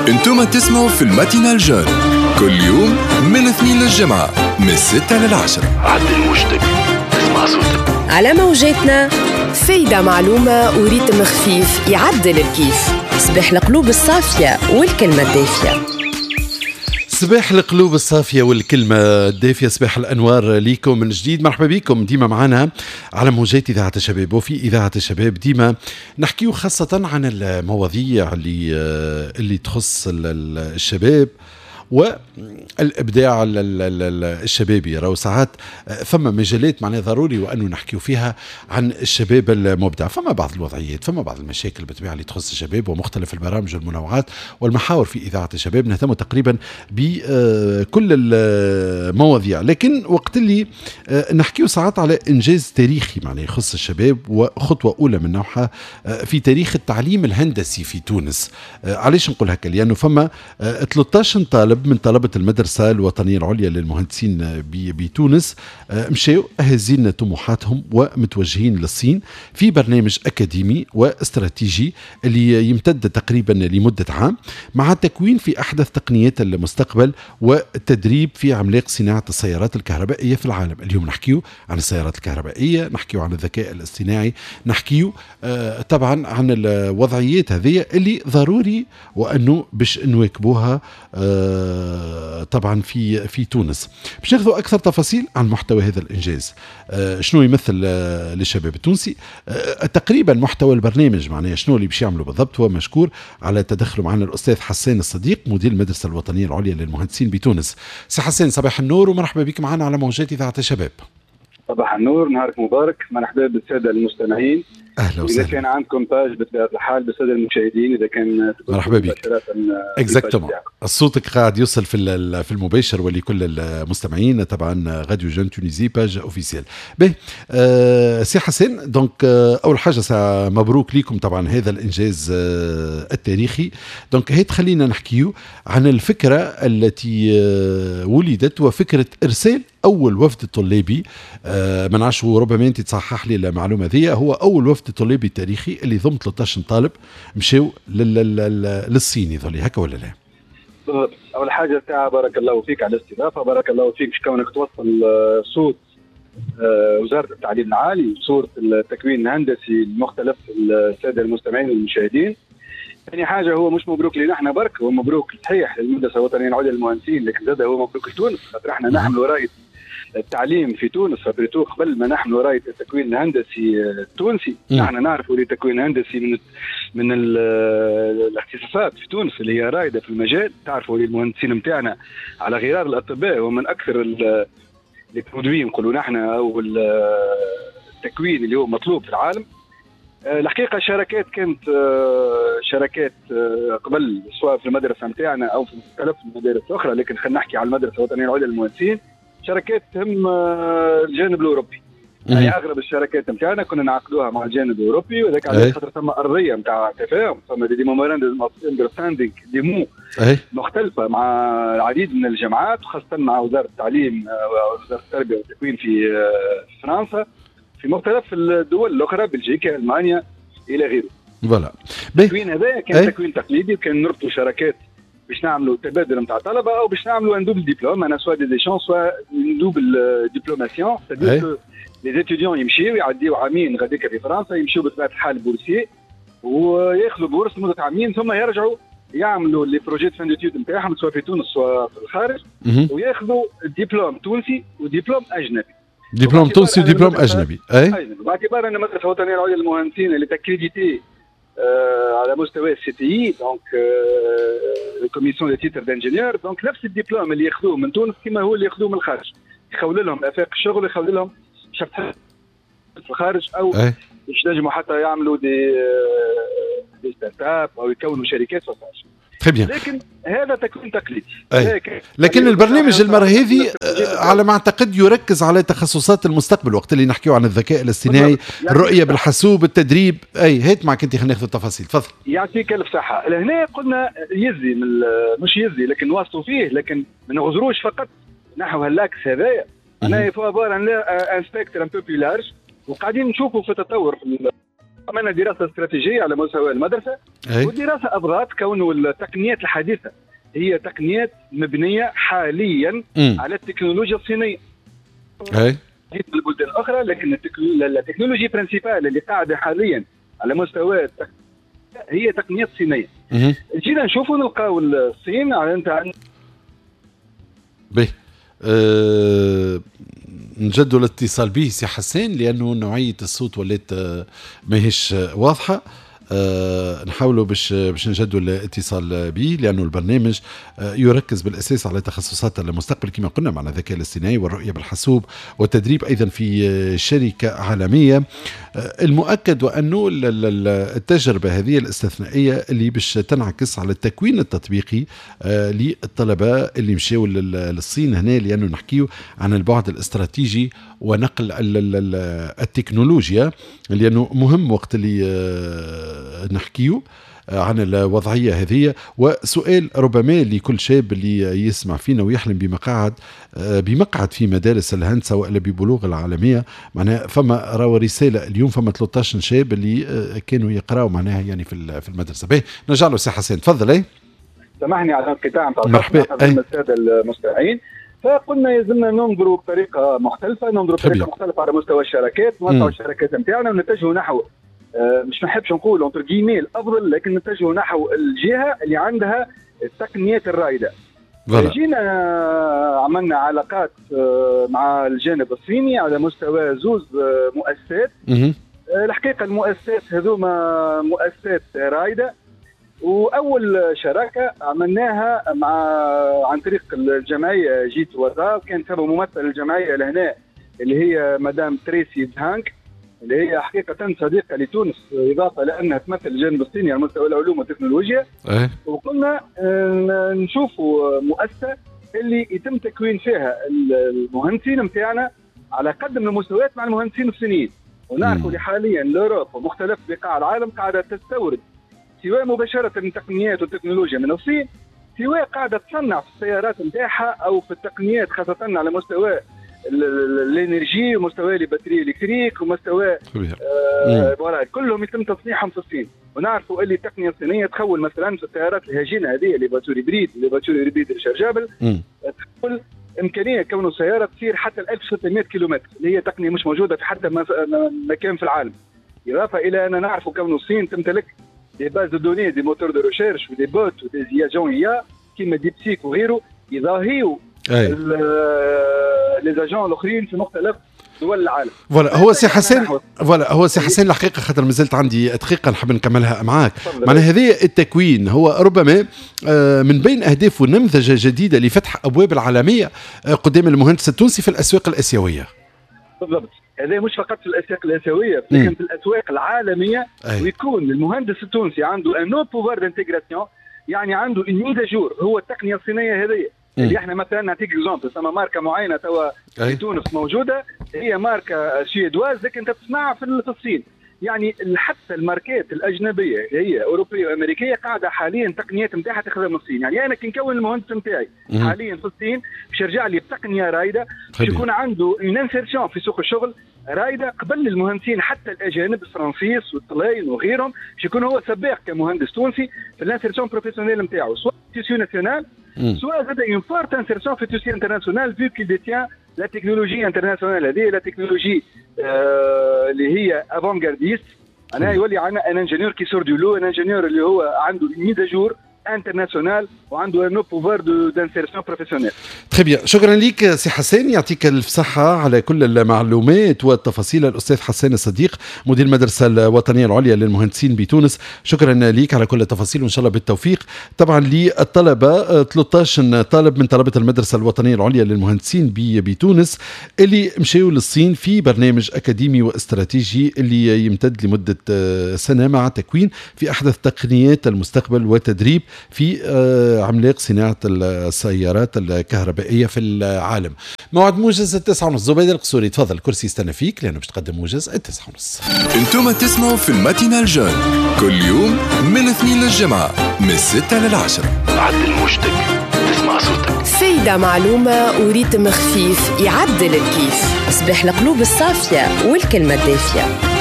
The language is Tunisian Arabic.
انتم تسمعوا في ال matinale jeune كل يوم من الاثنين للجمعة من 6 لل10. عدل وجدك تسمع صوتك. على موجاتنا، فايدة، معلومة و rythme خفيف يعدل الكيف. صباح القلوب الصافية والكلمة الدافية. صباح القلوب الصافية والكلمة الدافية، صباح الأنوار ليكم من جديد. مرحبا بكم ديما معنا على موجات إذاعة الشباب. وفي إذاعة الشباب ديما نحكيو خاصة عن المواضيع اللي تخص الشباب والابداع الشبابي. راهو ساعات فما مجالات معناها ضروري وانه نحكيو فيها عن الشباب المبدع. فما بعض الوضعيات، فما بعض المشاكل بالطبيعة اللي تخص الشباب، ومختلف البرامج والمنوعات والمحاور في اذاعة الشباب نهتم تقريبا بكل المواضيع. لكن وقت اللي نحكيو ساعات على انجاز تاريخي معناها يخص الشباب وخطوه اولى من نوعها في تاريخ التعليم الهندسي في تونس. علاش نقول هكا؟ لانه فما 13 طالب من طلبة المدرسة الوطنية العليا للمهندسين بتونس مشاو هازين طموحاتهم ومتوجهين للصين في برنامج أكاديمي واستراتيجي اللي يمتد تقريبا لمدة عام، مع التكوين في أحدث تقنيات المستقبل والتدريب في عملاق صناعة السيارات الكهربائية في العالم. اليوم نحكيو عن السيارات الكهربائية، نحكيو عن الذكاء الاصطناعي، نحكيو طبعا عن الوضعيات هذه اللي ضروري وأنه باش نواكبوها طبعا في تونس. باش ناخذوا اكثر تفاصيل عن محتوى هذا الانجاز، شنو يمثل للشباب التونسي، تقريبا محتوى البرنامج معناها شنو اللي باش يعملوا بالضبط، هو مشكور على تدخله معنا الاستاذ حسان الصديق، مدير المدرسة الوطنية العليا للمهندسين بتونس. سي حسان، صباح النور ومرحبا بك معنا على موجات اذاعة الشباب. صباح النور، نهارك مبارك، مرحبا بالساده المستمعين. اهلا وسهلا. اذا كان عندكم page بطبيعة الحال، بالساده المشاهدين اذا كان. مرحبا بك. exactement، صوتك قاعد يوصل في المباشر ولكل المستمعين طبعا، radio jeune Tunisie page officielle. به سي حسين، donc اول حاجة مبروك لكم طبعا هذا الانجاز التاريخي. donc هي تخلينا نحكيو عن الفكرة التي ولدت وفكره ارسال اول وفد طلابي. ما نعرفش، ربما انت تصحح لي المعلومة ذي، هو اول وفد طلابي تاريخي اللي ضم 13 طالب مشاو للصين، يظل هكا ولا لا؟ بالضبط. اول حاجة ساعة بارك الله فيك على الاستضافه، بارك الله فيك باش كونك توصل صوت وزارة التعليم العالي وصوره التكوين الهندسي لمختلف السادة المستمعين والمشاهدين. ثاني حاجه، هو مش مبروك لنا احنا برك، هو مبروك صحيح للمدرسة الوطنية العليا للمهندسين، لكن زاد هو مبروك لتونس، خاطر احنا نحمل رايه التعليم في تونس surtout قبل ما نحمل رايه التكوين الهندسي التونسي. نحن نعرفوا اللي التكوين الهندسي من الاختصاصات في تونس اللي هي رائدة في المجال. تعرفوا اللي المهندسين نتاعنا على غرار الاطباء ومن اكثر les produits نقولوا نحن او التكوين اللي هو مطلوب في العالم. الحقيقة شراكات كانت شراكات قبل، سواء في المدرسة نتاعنا او في مختلف المدارس الاخرى، لكن خلينا نحكي على المدرسة الوطنية العليا للمهندسين، شراكات تهم الجانب الاوروبي. يعني اغلب الشراكات نتاعنا كنا نعقدوها مع الجانب الاوروبي، وذاك علاش خاطر ثم ارضية نتاع تفاهم، ثم des memoranda of understanding، des MOU مختلفة مع العديد من الجامعات، وخاصة مع وزارة التعليم ووزارة التربية والتكوين في فرنسا، في مختلف الدول الاخرى، بلجيكا، المانيا، الى غيره. voilà. التكوين هذا كان تكوين تقليدي، وكان نربطوا شراكات باش نعملوا تبادل نتاع طلبه او باش نعملوا un double diplôme، انا soit des échanges soit double diplomation، les étudiants يمشيو يعديو عامين غاديك في فرنسا، يمشيو بطبيعة الحال boursiers وياخذوا bourse لمدة عامين، ثم يرجعوا يعملوا les projets de fin d'études نتاعهم سواء في تونس سواء في الخارج، وياخذوا دبلوم تونسي ودبلوم اجنبي. دبلوم تونسي ودبلوم اجنبي، اي. باعتبار ان المدرسة الوطنية العليا للمهندسين اللي accréditée على مستوى ال CTI، donc commission des titres d'ingénieur، donc نفس الدبلوم اللي ياخذوه من تونس كما هو اللي ياخذوه من الخارج، يخول لهم افاق الشغل، يخول لهم في الخارج او باش ينجموا حتى يعملوا des startups او يكونوا شركات في الخارج. très bien. لكن هذا تكوين تقليدي. لكن البرنامج المرة هذه على ما اعتقد يركز على تخصصات المستقبل، وقت اللي نحكيو عن الذكاء الاصطناعي، الرؤية بالحاسوب، التدريب. اي هات معك انت، خلينا ناخذ التفاصيل، تفضل. يعطيك الف صحه. لهنا قلنا يزي من مش يزي، لكن نواصلوا فيه، لكن ما نغزروش فقط نحو هال axe هذايا. انا il faut avoir un spectre un peu plus large، وقاعدين نشوفوا في تطور في عملنا دراسة استراتيجية على مستوى المدرسة. والدراسة ابرزت كونه التقنيات الحديثة هي تقنيات مبنية حاليا على التكنولوجيا الصينية. في البلدان الاخرى، لكن ال technologie principale اللي قاعدة حاليا على مستوى هي تقنيات صينية. جينا نشوفوا نلقاو الصين على انت به. نجدوا الاتصال به سي حسين لانه نوعية الصوت ولات ماهيش واضحة. نحاولوا باش نجدوا الاتصال به لانه البرنامج يركز بالاساس على تخصصات المستقبل كما قلنا، مع الذكاء الاصطناعي والرؤية بالحاسوب والتدريب ايضا في شركة عالمية. المؤكد وانه التجربة هذه الاستثنائية اللي باش تنعكس على التكوين التطبيقي للطلبة اللي مشاو للصين هنا، لانه نحكيو عن البعد الاستراتيجي ونقل التكنولوجيا، لانه مهم وقت اللي نحكيو عن الوضعية هذه. وسؤال ربما لكل شاب اللي يسمع فينا ويحلم بمقعد في مدارس الهندسة وإلا ببلوغ العالمية، معناها فما راهو رسالة اليوم، فما 13 شاب اللي كانوا يقراوا معناها يعني في المدرسة. باهي نرجع له سي حسين، تفضل. اي سامحني على الانقطاع نتاع مرحبا السادة المستمعين. فقلنا يلزمنا ننظروا بطريقة مختلفة، ننظروا بطريقة مختلفة على مستوى الشراكات، نوسعوا الشراكات نتاعنا ونتجهوا نحو مش نحبش نقول entre guillemets الافضل، لكن نتجهوا نحو الجهة اللي عندها التقنيات الرائدة. جينا عملنا علاقات مع الجانب الصيني على مستوى زوز مؤسسات. الحقيقة المؤسسات هذوما مؤسسات رائدة، واول شراكة عملناها مع عن طريق الجمعية جيت وزا، كان ثم ممثل الجمعية لهنا اللي هي مدام تريسي دهانك، اللي هي حقيقة صديقة لتونس، إضافة لأنها تمثل الجانب الصيني على مستوى العلوم والتكنولوجيا. وقلنا نشوفوا مؤسسة اللي يتم تكوين فيها المهندسين نتاعنا على قدم المستويات مع المهندسين الصينيين. ونعرفوا اللي حاليا l'Europe ومختلف بقاع العالم قاعدة تستورد سواء مباشرة التقنيات والتكنولوجيا من الصين، سواء قاعدة تصنع في السيارات نتاعها أو في التقنيات، خاصة على مستوى ال énergie ومستوى les batteries électriques ومستوى voilà، كلهم يتم تصنيعهم في الصين. ونعرفوا اللي التقنية الصينية تخول مثلا في السيارات الهجينه هذه les voitures hybrides، les voitures hybrides rechargeables، تخول امكانية كون السيارة تصير حتى 1600 كيلومتر، اللي هي تقنية مش موجودة في حتى مكان في العالم. اضافه الى ان نعرفوا كون الصين تمتلك des bases de données، des moteurs de recherche و des bots و des agents IA كيما DeepSeek وغيره، يضاهيوا les agents الاخرين في مختلف دول العالم. voilà هو سي حسين، voilà هو سي حسين الحقيقة خاطر مازلت عندي دقيقة نحب نكملها معاك. معناها هذه التكوين هو ربما من بين اهدافه نمذجه جديدة لفتح ابواب العالمية قدام المهندس التونسي في الاسواق الاسيوية. بالضبط، هذا مش فقط في الاسواق الاسيوية لكن في الاسواق العالمية. ويكون المهندس التونسي عنده un haut pouvoir d'intégration، يعني عنده une mise à jour. هو التقنية الصينية هذه اللي احنا مثلا نعطيك exemple، ثم ماركة معينة توا في تونس موجودة، هي ماركة suédoise لكن تصنع في الصين. يعني حتى الماركات الاجنبية اللي هي اوروبية وامريكيه قاعدة حاليا التقنيات نتاعها تاخذها من الصين. يعني انا كي نكون المهندس نتاعي حاليا في الصين باش يرجع لي بتقنية رائدة، باش يكون عنده une insertion في سوق الشغل رائدة قبل المهندسين حتى الاجانب الفرنسيس والطلاين وغيرهم، باش يكون هو سباق كمهندس تونسي في l'insertion professionnelle نتاعو، سواء tissu national soit زاد une forte insertion في tissu international vu qu'il détient la technologie internationale هذه la technologie اللي هي avant-gardiste. انا يولي عندنا un ingénieur qui sort du lot، un ingénieur اللي هو عنده mise à jour internationale وعنده un pouvoir d'insertion professionnelle. très bien، شكرا لك سي حسين، يعطيك الف صحة على كل المعلومات والتفاصيل. الاستاذ حسين الصديق مدير المدرسة الوطنية العليا للمهندسين بتونس، شكرا لك على كل التفاصيل وان شاء الله بالتوفيق. طبعا للطلبة 13 طالب من طلبه المدرسة الوطنية العليا للمهندسين بتونس اللي مشاو للصين في برنامج اكاديمي واستراتيجي اللي يمتد لمدة سنة مع تكوين في احدث تقنيات المستقبل وتدريب في عملاق صناعة السيارات الكهربائية في العالم. موعد موجز 9:30. زبيدة القصوري تفضل، الكرسي يستنى فيك لأنه باش تقدم موجز 9:30. انتم تسمعوا في ال matinale jeune كل يوم من 2 للجمعة من 6 لل10. عدل موجتك تسمع صوتك. فايدة معلومة و rythme خفيف يعدل الكيف. صباح القلوب الصافية والكلمة الدافية.